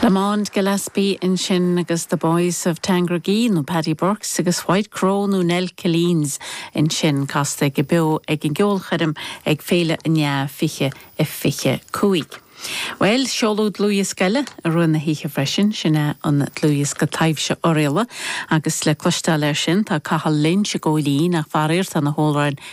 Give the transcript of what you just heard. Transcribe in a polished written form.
Lamond Gillespie ansin agus The Boys of Tandragee nó Paddy Burkes agus White Crow nó Nell Killeens ansin casta aige beo ag an gceolchoirm ag Féile an Fhleadh 2025. Bhuel, seoladh dlúthdhiosca eile i rith na hoíche freisin, sin é an dlúthdhiosca Taibhse Oirialla agus le cloisteáil air sin tá Cathal Lynch i gCóilín ach faraor tá na hamhráin ar.